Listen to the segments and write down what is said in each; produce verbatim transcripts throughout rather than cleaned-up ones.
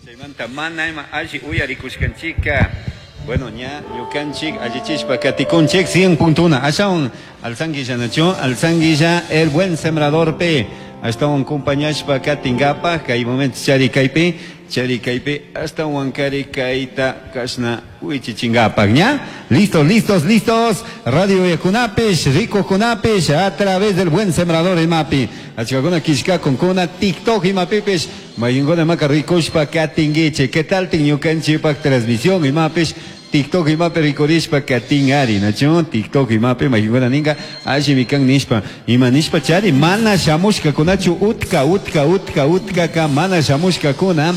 Chaymanta mana ima alli uyarikushkanchika. Bueno, ña ñukanchik allichishpa katikunchik cien punto uno. Ashawan alzanguilla nacho, alzanguilla el buen sembrador pe. Ashtawan compañashpa katingapaj kay momento chari kaypi, chari kaypi ashtawan kari kayta kashna wichichingapaj, ña. Listos, listos, listos. Radio Yakunapish, Rico Kunapish, a través del buen sembrador imapi. Achkakuna kishkakunkuna TikTok imapipish, mayinguna maka rikushpa katinguiche. ¿Qué tal tin ñukanchikpak transmisión imapish? TikTok imapi rikurishpa katingari, nacho? TikTok imapi mayinguna ninga alli mikan nishpa. Ima nishpa chari mana shamushkakunachu utka utka utka utkaka mana shamushkakuna.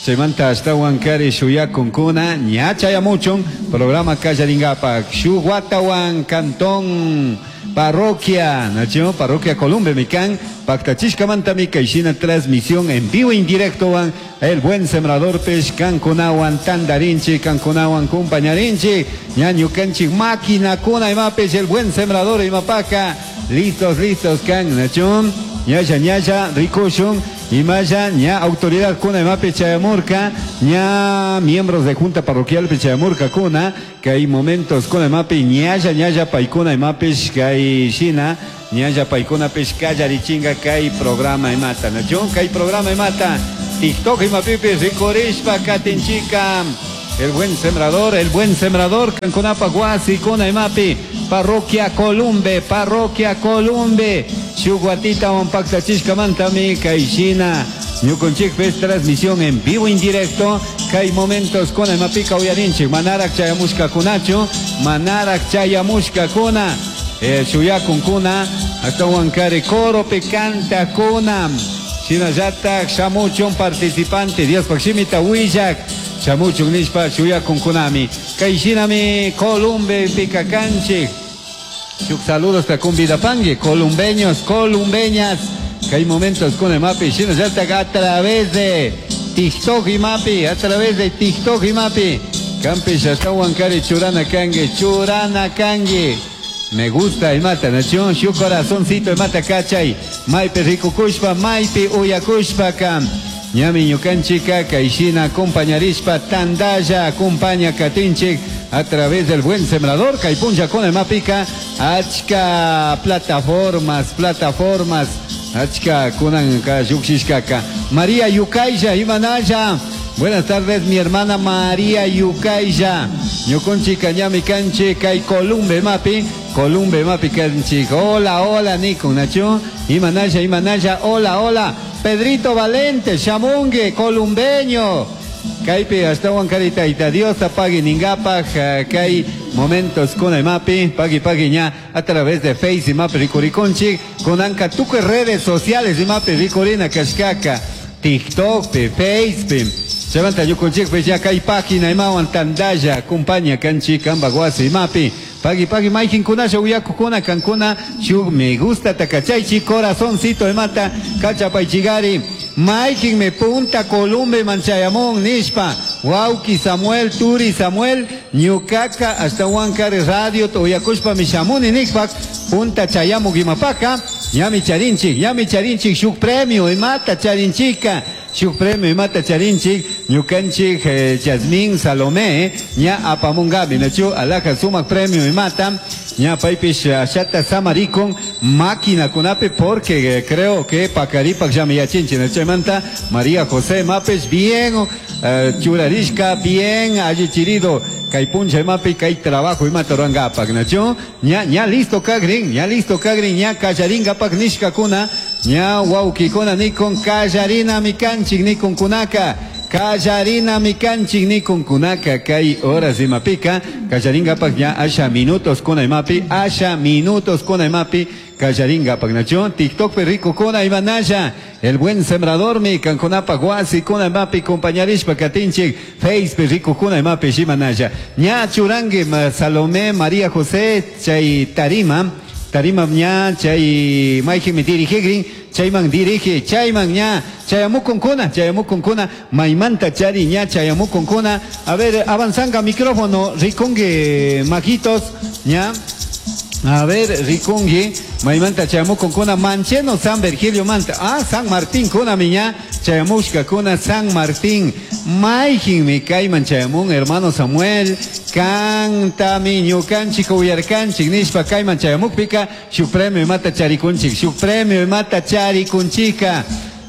Chaymanta ashtawan kari shuyakunkuna ña chayamuchun programa kallaringapak shuk watawan cantón parroquia, nacho? Parroquia Columbe mikan paktachishkamantami kayshina transmisión en vivo en directo wan el buen sembrador pesh kankunawan tandarinchi kankunawan compañarinchi ña ñukanchik máquina kuna imapish el buen sembrador imapaka listos listos kan nacho ñalla ñalla rikushun imaya ña autoridad kuna imapi chayamurka ña miembros de junta parroquial chayamurka kuna que hay momentos kuna imapi ñalla ñalla paykuna imapish kay shina ñalla paykuna pish kallarichinga kay programa imata nacho kay programa imata TikTok imapipis rikurishpa katinchika el buen sembrador, el buen sembrador, kankunapa wasi kuna imapi, parroquia Columbe, parroquia Columbe, shuk watitawan paktachishkamantami kayshina, ñukunchikpis transmisión en vivo en directo, kay momentos kuna imapika uyarinchik, manarak chayamushkakunachu, manarak chayamushkakuna, eh, shuyakunkuna, ashtawan kari coropi kantakuna, shinallatak shamuchun participante, Diospaj shimita willak, shamuchun nishpa shuyakunkunami, kay shinami Columbe pikakanchik, shuk saludos ta convidapangue, columbeños, columbeñas, kay momentos con el mapi, shinallatak a través de TikTok y mapi, a través de TikTok y mapi, kampish ashtawan kari churana kangue, churana kangue. Me gusta imata, nación, shu corazoncito imata kachay, maypi rikukushpa, maypi uyakushpa kam. Ñami ñukanchika kayshina acompañarishpa tandalla acompaña katinchik a través del buen sembrador kay punlla con imapika achka plataformas, plataformas achka kunanka llukshishkaka. María Yucaya imanalla. Buenas tardes, mi hermana María Yucaya. Ñukunchika ñami kanchi kay Columbe mapi, Columbe mapi kanchi. Hola, hola, Nico Nacho. Imanalla, imanalla, hola, hola. Pedrito Valente, Shamungue, columbeño. Kaypi ashtawan karita Dios pagui ningapaj kay momentos con mapi, pagui pagui ña a través de Face y mapi rikurikunchik, kunanka tukuy redes sociales y mapi rikurina kashkaka, TikTok, pe, Face, pe. Chaymanta ñukunchik pe ya kay página imawan tandalla, acompaña kanchik kamba wasi imapi. Pagui pagui mayqinkunasha uyakukuna kankuna shuk me gusta takachaychi corazoncito imata kachapaychigari mayqin me punta Columbe manchayamun nishpa wawki Samuel Turi Samuel ñukaka ashtawan kari radio uyakushpa mishamuni nikpak punta chayamuk imapaka ñami charinchik ñami charinchik shuk premio imata charinchika shuk premio imata charinchik ñukanchik eh, Yasmín Salomé ña apamungabi nachu alaja sumak premio imata ña paypish ashata samarikun máquina kunapi porque eh, creo que pakaripak llami yachinchik chaymanta María José mapes bien eh, churarishka bien allichirido kay puncha imapi kay trabajo imata rurangapak nachu ña ña listo kagrin ña listo kagrin ña kallaringapak nishkakuna ña wawkikuna nikun kallarina mikanchik nikun kunaka kallarina mikanchik nikun kunaka kay horas imapika kallaringapak ña asha minutos kuna imapi asha minutos kuna imapi kallaringapak nachu TikTok pe rico kuna imanalla el buen sembrador mi kankunapa wasi kuna imapi compañarishpa katinchik Face pe rico kuna imapi shimanalla ña churangue Salomé María José chay tarima tarima ña chay mayqinmi dirigigrin chayman dirige chayman ña chayamukunkuna chayamukunkuna maymanta chari ña chayamukunkuna a ver avanzanga micrófono rikungue majitos ña A ver, rikungi, maymanta chayamukunkuna Mancheno San Virgilio manta. Ah, San Martín kuna miña, chayamushka kuna San Martín. Mayjinmi kayman chayamun, hermano Samuel, kantami ñukanchik uyarkanchik nishpa kayman chayamukpika, shuk premio imata charikunchik, shuk premio imata charikunchika.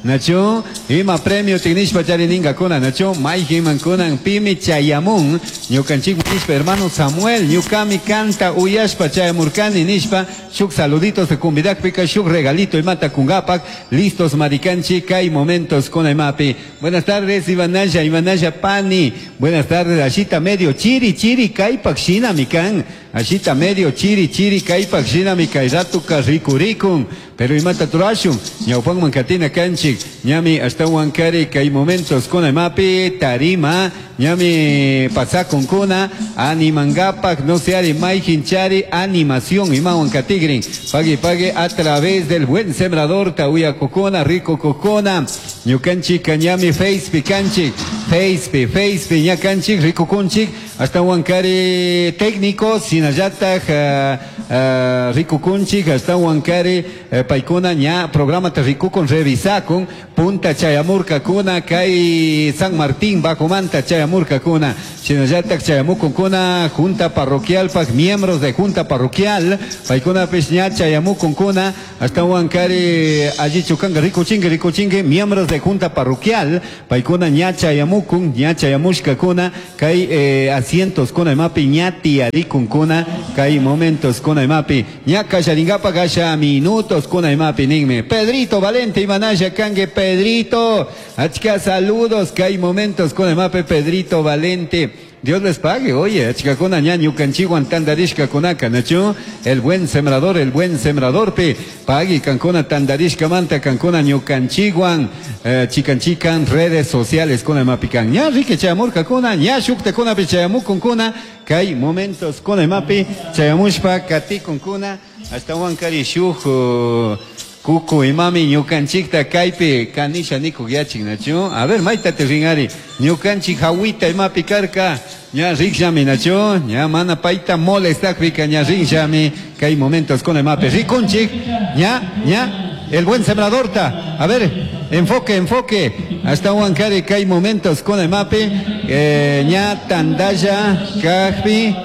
Nacho, ima premio tinishpa charininga kuna, Nacho, mayjinman kunan pimi chayamun, ñukanchik nishpa hermano Samuel, ñukami kanta uyashpa chayamurkani nishpa, shuk saluditos de kumbidakpika, shuk regalito imata kungapak, listos marikanchi, kay momentos kuna imapi. Buenas tardes, Ivanaya, Ivanaya Pani, buenas tardes, ashita medio chiri chiri kaypak shinami kan, ashita medio chiri chiri kaypak shinami kay ratuka rikurikun, pero imata turashun, ñawpanman katina kanchik, ñami ashtawan kari kay momentos kuna imapi, tarima, ñami pasakun kuna, animangapak, no se ari mayjin chari, animación imawan katigrin, pague pague a través del buen sembrador, tauya kokona, rico kokona, ñukanchik ñami face kanchik, face face ñakanchik, rico kunchik, hasta wankari técnico, sinallataj, uh, uh, rico kunchik, hasta wankari uh, paykuna ña programa te rikukun revisakun, punta chayamurka kuna, kay San Martín bajomanta chayamurka kuna, shinallataj chayamukun kuna, junta parroquial pak, miembros de junta parroquial, paykuna pis ña chayamukun kuna, hasta wankari allí chukanga rikuchingue rikuchingue, miembros de junta parroquial, paykuna ña chayamukun, ña chayamushka kuna, kay eh, asientos kuna imapi ña tiyarikun kuna, kay momentos kuna imapi, ña kallaringapa kasha minutos kuna imapi ninme. Pedrito Valente Imanaya kangue Pedrito, achka saludos, kay momentos kuna imapi Pedrito Valente. Dios les pague, oye, achkakuna ña ñukanchikwan tandarishka kunaka, nachu, el buen sembrador, el buen sembrador, pe, pagui kankuna tandarishka manta, kankuna ñukanchikwan, eh, chikan chikan, redes sociales kuna imapi kan, ña rique chayamurka kuna, ña shukta kuna pe chayamukun kuna, kay momentos kuna imapi, chayamushpa katikun kuna, hasta wankari shuk, uh, kuku imami ñukanchikta kaypi kanisha nikuk yachik nachu. A ver, mayta te ringari, ñukanchik hawita imapi karka, ña rikllami nachu, ña mana payta molestakpika ña rinllami, kay momentos kuna imapi rikunchik, ña, ña, el buen sembradorta, a ver, enfoque, enfoque, hasta wankari kay momentos kuna imapi, eh, ña tandalla kajpi,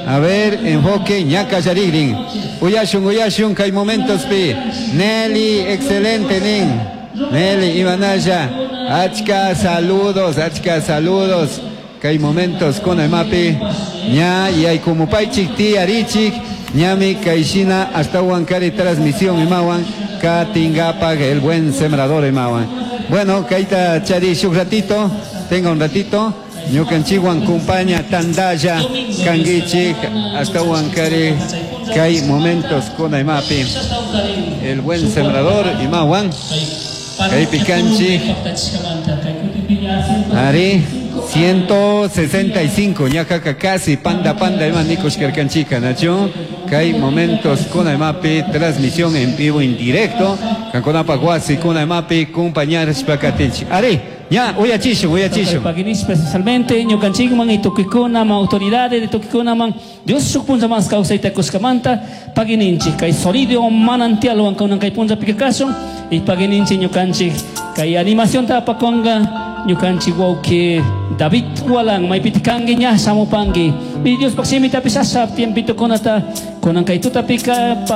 a ver, enfoque, ña kallarigrin, uyashun, uyashun, kay momentos pi, Nelly, excelente, nin, Nelly, Ivanaya, achka saludos, achka saludos, kay momentos kuna imapi, ña, yaykumupaychik, tiyarichik, ñami, kayshina, hasta wankari transmisión imawan, katingapak, el buen sembrador imawan. Bueno, kayta chari shuk ratito, tenga un ratito, ñukanchikwan kumpaña tandalla kanguichik hasta wankari kay momentos kuna imapi el buen sembrador imawan kaypi kanchik ari ciento sesenta y cinco ñakaka casi panda panda ima nikushkarkanchika nachu kay momentos kuna imapi transmisión en vivo en directo kankunapaq wasi kuna imapi kumpañarishpa katinchik ari ña uyachishun uyachishun Paguinis especialmente ñukanchikman y tukikunaman autoridades de tukikunaman Dios shuk punlla mas kawsayta kushkamanta paguininchik kay sonido manantialwan kunan kay punlla pikakashun y paguininchik ñukanchik kay animación tapakonga ñukanchik wawki David Walan maypiti kanki ña shamupanki y Dios shimitapish asha tiempito kunata kunan kay tutapika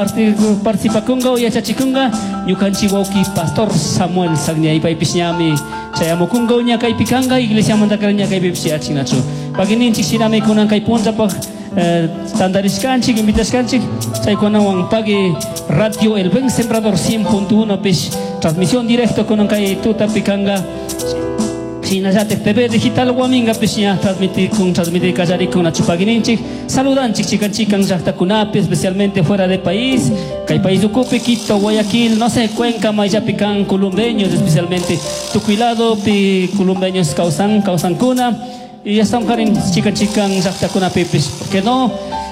participakunga o yachachikunga ñukanchik wawki Pastor Samuel Sagnia y paypish ñami chayamukunga ña kaypikanga iglesiamanta ña kaypipish yachinachu paguininchik shinami kunan kay punllapaq eh, tandarishkanchik invitashkanchik chaykunawan pagui Radio El Buen Sembrador cien punto uno pish transmisión directo kunan kay tutapikanga Shinallatik T V Digital Huaminga pish ña transmitir con transmitir kallarikun nachu paguininchik saludanchik chikan chikan llaqtakunapi especialmente fuera de país kay país ukupi Quito, Guayaquil, no sé, Cuenca, mayllapi kan columbeños especialmente tukuy pi columbeños kawsan kawsankuna y ya están karin chikan chikan llaqtakunapi pish ¿por qué no?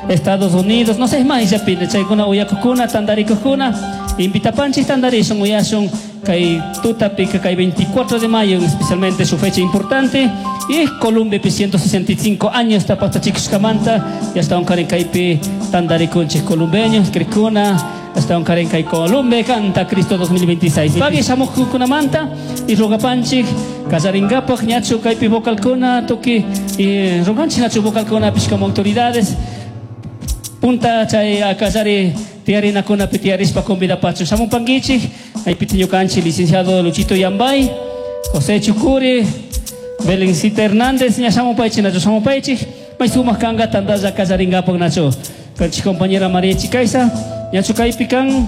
Estados Unidos, no sé, mayllapi chaykuna uyakukuna tandarikukuna invitapanchik tandarishun uyashun kay tutapika kay veinticuatro de mayo especialmente su fecha importante Y Columbepi ciento sesenta y cinco años tapaqtachikushkamanta y hasta un kaypi tantarikunchik columbeños, crikuna, hasta un kay Columbe canta Cristo dos mil veintiséis. Pagui shamuqkunamanta y rogapanchik kallaringapaq ñachu kaypi vocalkuna tuki y roganchik ñachu vocalkuna pish como autoridades punta chay kallari tiarinakunapi tiarispa convidapachu shamupankichik kaypi ñukanchik licenciado Luchito Yambay, José Chucuri, Belencita Hernández, ña shamupaychik nachu shamupaychik may sumaq kanqa tantalla kallaringapaq nachu kanchik compañera María Chicaiza ñachu kaypi kan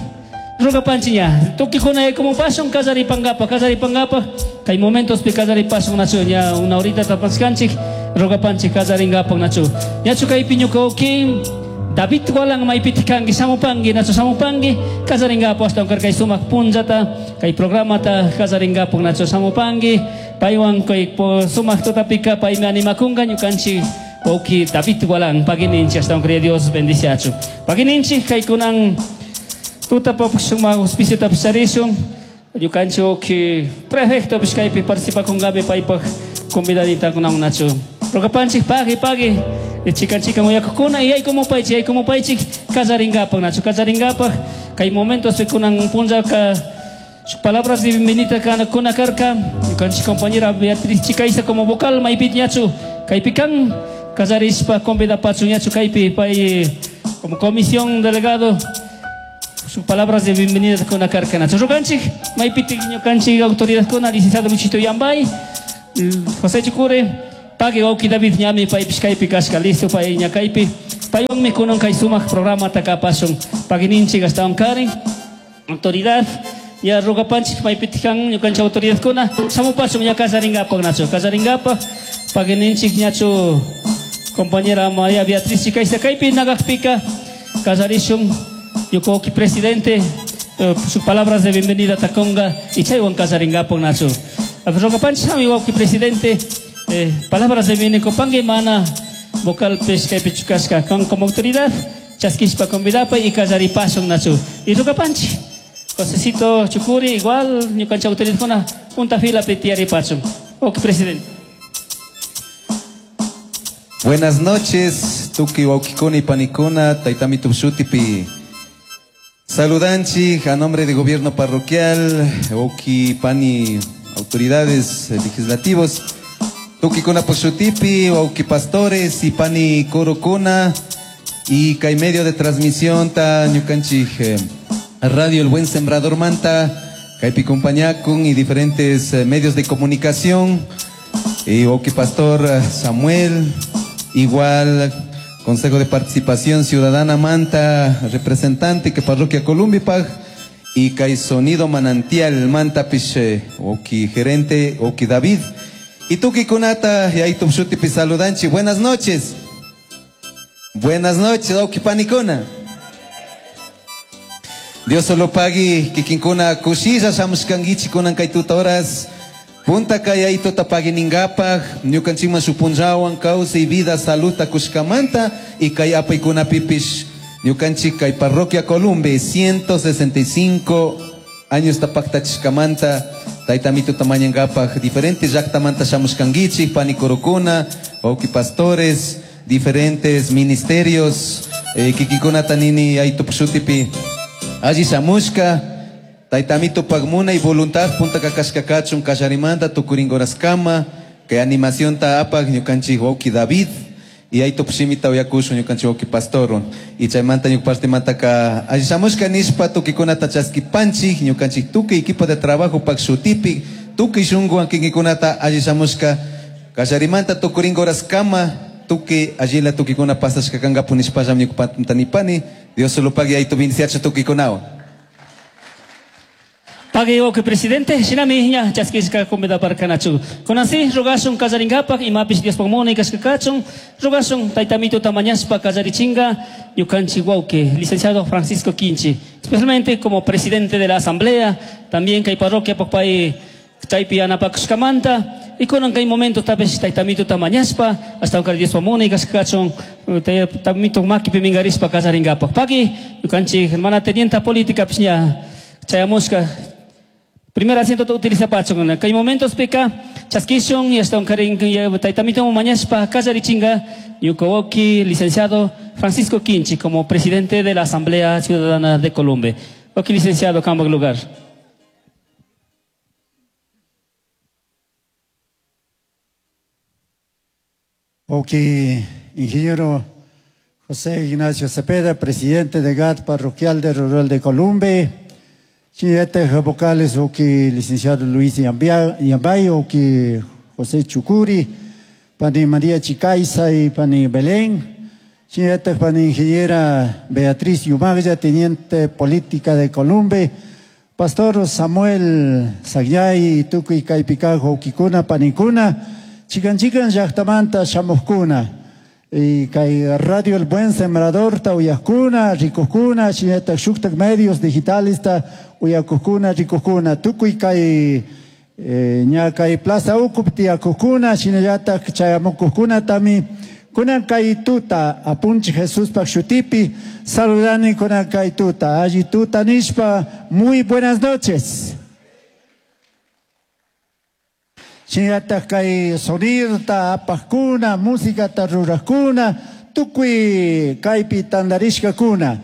rogapanchik ña tukikuna como pasun kallaripankapaq kallaripankapaq kay momentospi kallaripasun nachu ña una horita tapaskanchik rogapanchik kallaringapaq nachu ñachu kaypi ñuka ukin David Gualan maypiti kanki shamupanki nachu shamupanki kallaringapaq ashtawan kay sumaq punllata kay programata kallaringapaq nachu shamupanki paywan kay sumaq tutapika paymi animakunqa ñukanchik wawqi David Gualan pagininchik ashtawan kay Dios bendiciachu pagininchik kaykunan tutapaq sumaq auspiciota charishun ñukanchik wawqi prefecto kaypi participakunqami paypaq convidaditakunawan nachu rogapanchik pagui pagui chikan chikan uyakukuna y yaykumupaychik yaykumupaychik kallaringapaq nachu kallaringapaq kay momentos kunan punllaka palabras de bienvenida kuna karka ñukanchik compañera Beatriz Chicaiza como vocal maypi ñachu kaypi kan kallarishpa convidapachu ñachu kaypi pay como comisión delegado sus palabras de bienvenida kuna karka nachu roganchik maypi ñukanchik autoridad kuna licenciado Luchito Yambay, José Chucure pagui wawqi David ñami paypish kaypi kashka listo pay ña kaypi paywanmi kunan kay sumaq programata kapasun pagininchik ashtawan karin autoridad ya rogapanchik maypitik kan ñukanchik autoridadkuna shamupasun ña kallaringapaq nachu kallaringapaq pagininchik ñachu compañera María Beatriz Chicaiza kaypi nagaqpika kallarishun ñuka wawqi presidente eh, sus palabras de bienvenida takonga y chaywan kallaringapaq nachu rogapanchik shami wawqi presidente. Eh, palabras de bienvenida mana vocal pesca y pichukasca con como autoridad chasquispa convidapa y kallaripasun nachu y rogapanchik Josecito Chucuri igual ñukanchik autoridad kuna punta fila petiaripasun. Ok, presidente. Buenas noches, tuki wawqikuna y panikuna, taytami tupshutipi. Saludanchik a nombre de gobierno parroquial, wawqi pani autoridades legislativos, tukikuna poshutipi, wawqi pastores y pani korokuna y kay medio de transmisión ta ñukanchik eh, Radio El Buen Sembrador Manta, kaypi compañakun y diferentes eh, medios de comunicación, y wawqi pastor Samuel, igual Consejo de Participación Ciudadana Manta, representante que parroquia Columbipag, y kay Sonido Manantial Manta pish, wawqi gerente, wawqi David, y tuki kunata, y ahí tupshutipi saludanchi. Buenas noches. Buenas noches, wawqi panikuna. Dios solo pagui, kikinkuna kushilla shamushkankichik kunan kay tuta horas. Punta kay ahí tuta pagui ningapaj, ñukanchikman shupunllawan kawsay vida saluta kushkamanta, y kay apaykuna pipish, ñukanchik kay parroquia Columbe, ciento sesenta y cinco años tapaqtachishkamanta, taytamito tamañangapaj, diferentes llaqtamanta shamushkankichik, panikorokuna, wawqi pastores, diferentes ministerios, eh, kikikuna tanini ahí tupshutipi, alli shamushka, taytamito pagmuna y voluntad, punta kakashkakachun kallarimanta, tukuringoraskama, que animación ta apaj, ñukanchik wawqi David, y ahí tupshimita uyakushun ñukanchik wawqi pastorun, y chaymanta ñuqpartimanta ka alli shamushka nishpa tukikunata chaskipanchik, ñukanchik tukuy equipo de trabajo pak shutipi, tukuy shunkuwan kikikunata alli shamushka, kallarimanta tukuringoraskama, tukuy allila tukikuna pasashka kankapu nishpallam ñuqpanta nipani, Dios solo pague ahí tu bendiciacho tukikunawan. Pagui wawqi presidente, shinami ña chaskishka convidaparkanachu. Kunansi rogashun kallarinkapak imapish Diospaq munay kashkakachun, rogashun taytamito tamañashpa kallarichinga ñukanchik wawqi, licenciado Francisco Quinchi, especialmente como presidente de la asamblea, también kay parroquia pay chaypi yanapakushkamanta, y kunan kay momento tapish taytamito tamañashpa hasta que Diospaq munay kashkakachun, taytamito makipi mingarishpa kallarinkapak. Pagui ñukanchik hermana tenienta política pish ña chayamushka. Primer asiento utiliza pachon. Kay momentos pika chaskishon y hasta un karin taitamito mañashpa kallarichinga ñuka licenciado Francisco Quinchi como presidente de la Asamblea Ciudadana de Columbe. Ok, licenciado, cambio lugar. Ok, ingeniero José Ignacio Cepeda, presidente de G A T Parroquial de Rural de Columbe. Chinete vocales, ok, licenciado Luis Yambay, ok, José Chucuri, pani María Chicaiza y pani Belén. Chinete pani ingeniera Beatriz Yumagya, teniente política de Columbe. Pastor Samuel Sagyay, Tukuy Kaypikajo, Kikuna, Panikuna. Chican chican llaqtamanta shamuqkuna y kay Radio El Buen Sembrador ta uyaqkuna, rikuqkuna, shinataq shuktak medios digitales ta uyaqkuna, rikuqkuna, tukuy kay, eh, ña kay Plaza Ucup tiyakuqkuna, shinallataq chayamukuqkuna tami kunan kay tuta apunchi Jesuspaq shutipi saludani kunan kay tuta, alli tuta nishpa, muy buenas noches. Shinataq kay sonirta apaqkuna, música ruraqkuna, tukuy kaypi tandarishkakuna.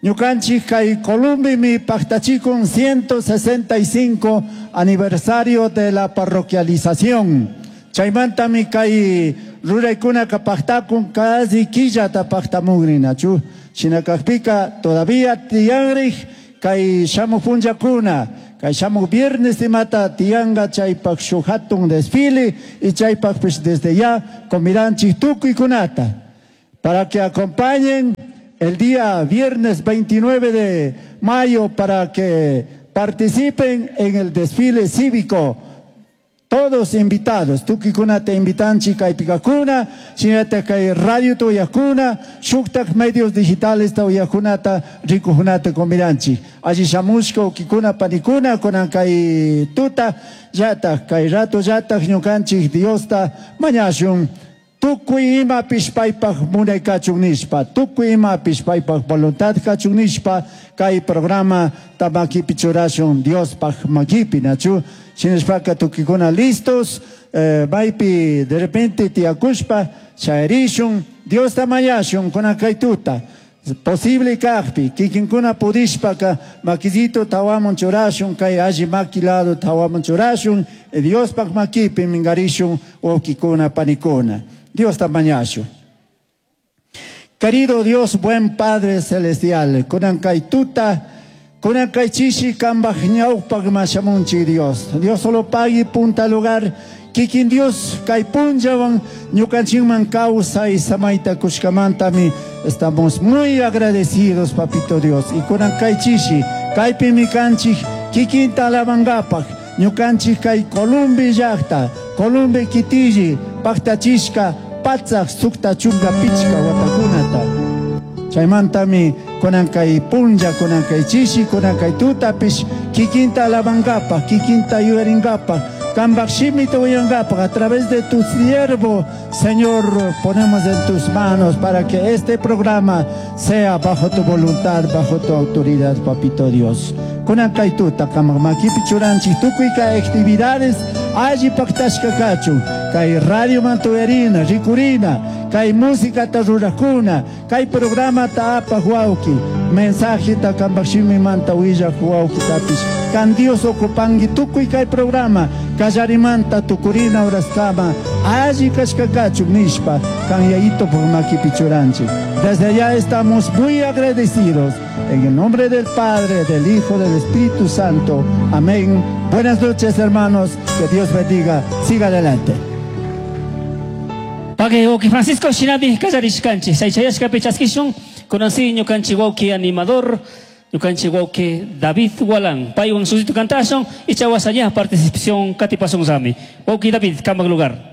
Ñukanchik kay Columbimi paqtachikun ciento sesenta y cinco aniversario de la parroquialización. Chaymantami kay ruraykunaka paqtakun casi killata paqtamugrinachu. Shinakaqpika todavía tiyanriq kay shamuq punllakuna. Kay shamuq viernes imata tiyanga chaypaq shuk hatun desfile y chaypaq pues desde ya comiranchik tukuykunata para que acompañen el día viernes veintinueve de mayo para que participen en el desfile cívico. Todos invitados, tukuykunata invitanchik kaypikakuna, shinataq kay radio tuyakuna, shuktak medios digitales tuyakunata rikukunata comiranchik. Allí shamushka ukikuna panikuna kunan kay tuta yataq kay rato yataq ñukanchik Diosta mañashun. Tukuy imapish paypaq munay kachun nishpa, tukuy imapish paypaq voluntad kachun nishpa, kay programa tamakipi churashun Diospaq makipi nachu. Shinashpaka tukikuna listos, eh, maypi de repente tiyakushpa chayarishun, Diosta mañashun kunan kay tuta. Posible kaqpi, kikinkuna pudishpaka makisito tawamun churashun, kay alli maki lado tawamun churashun, Diospaq makipi mingarishun wawkikuna panikuna. Diosta mañashun. Querido Dios, buen Padre Celestial, kunan kay tuta, kunan kay chishi kambaj ñawpaq mashamunchik Dios. Dios solo pagui punta lugar, kikin Dios kay punllawan ñukanchikman kawsay samayta kushkamantami estamos muy agradecidos, papito Dios. Y kunan kay chishi, kaypimi kanchik kikinta alabankapaq, ñukanchik kay Columbi llaqta, Columbi kitilli, paqtachishka, patsaq sukta chunka pichka watakunata. Chaymantami kunan kay punlla, kunan kay chishi, kunan kay tutapish, kikinta alabankapaq, kikinta yuyarinkapaq, kambaq shimita uyankapaq, a través de tu siervo, Señor, ponemos en tus manos para que este programa sea bajo tu voluntad, bajo tu autoridad, papito Dios. Kunan kay tuta, kamaq makipi churanchik, tukuy kay actividades, alli paqtashka kachun, kay radio mantuerina, rikurina, kay música ta rurakuna, kay programa ta apaq wawki, mensaje ta kambaq shimimanta willaq wawki tapish, kan Dios ocupangi tukuy kay programa, kallarimanta tukurina horaskama, alli kashka kachun nishpa, kan yayito por makipi churanchik. Desde allá estamos muy agradecidos. En el nombre del Padre, del Hijo, del Espíritu Santo. Amén. Buenas noches, hermanos. Que Dios bendiga. Siga adelante. Pague oki Francisco Shinabi kallarishkanchik. Chaychayashka pichaskishun. Kunansi ñukanchik wawki animador, ñukanchik wawki David Walán. Paywan susito kantashun y chawasaya participación katipasun sami. Wawki David, kambak lugar.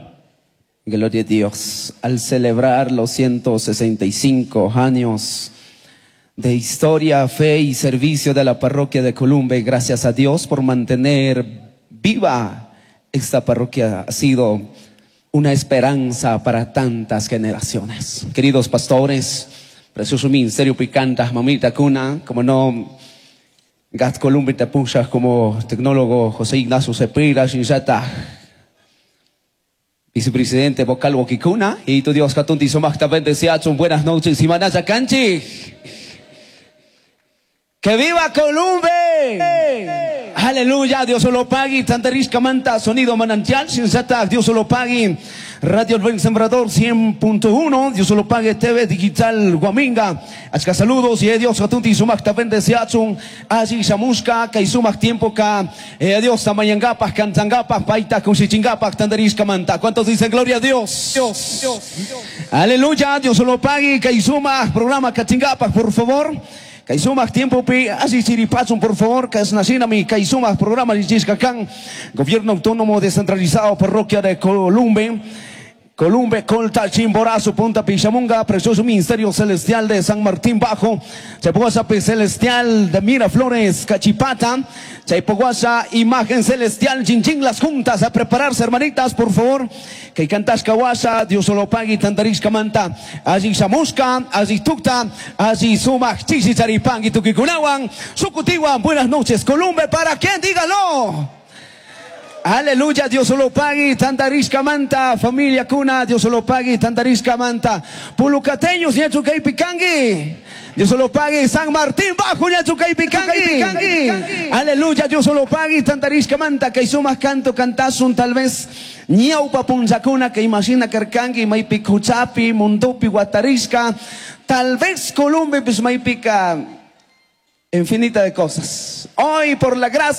Gloria a Dios. Al celebrar los ciento sesenta y cinco años de historia, fe y servicio de la parroquia de Columbe, gracias a Dios por mantener viva esta parroquia. Ha sido una esperanza para tantas generaciones. Queridos pastores, precioso ministerio Picanta, mamita cuna, como no, Gat Columbe Tapushaj como tecnólogo José Ignacio Cepeda, Shinshata, vicepresidente vocal Wokikuna, y tu Dios Katunti Sumacta bendeciachun, buenas noches, y Manaya Canchi. ¡Que viva Columbe! Aleluya, Dios solo pague, Tantarishka Manta, sonido manantial, Shinshata, Dios solo pague. Radio El Buen Sembrador cien punto uno, Dios solo pague T V Digital Guaminga. Achka saludos y Dios Katunti Sumacta bendeciachun, Allí Shamushka, Kaisumac tiempo ka, eh, Dios Tamayangapaj, Cantangapaj, Paita, Kushichingapak, Tantarishka Manta. ¿Cuántos dicen gloria a Dios? Dios, Dios, Dios. Aleluya, Dios solo pague, Kaisumac, programa Kachingapaj, por favor. Kaisumac tiempo pi, así chiripachun, por favor, Kasnasinami, Kaisumac, programa Lichishkakán, Gobierno Autónomo Descentralizado, Parroquia de Columbe, Columbe, Colta, Chimborazo, Punta Pichamunga, Precioso Ministerio Celestial de San Martín Bajo, Chaipoguasa Celestial de Miraflores, Cachipata, Chaipoguasa, Imagen Celestial, Chinchín, las juntas a prepararse, hermanitas, por favor, que cantas Cahuasa, Dios solo pague, Tantarishka Manta, allí Chamusca, allí Tucta, allí Sumac, Chichi, Charipán y Tuquicunahuan, Sucutihuan, buenas noches, Columbe, ¿para quién? Dígalo. Aleluya, Dios solo pague, Tantarishka Manta, familia Cuna, Dios solo pague, Tantarishka Manta, Pulucateños, Ñachucay Picangui, Dios solo pague, San Martín Bajo, Ñachucay Picangui, aleluya, Dios solo pague, Tantarishka Manta, que hizo más canto, cantazun, tal vez, Ñaupa Punchacuna, que imagina Carcangui, Maipicuchapi, Mundupi, Guatarishka, tal vez Columbe, pues Maipica, infinita de cosas. Hoy, por la gracia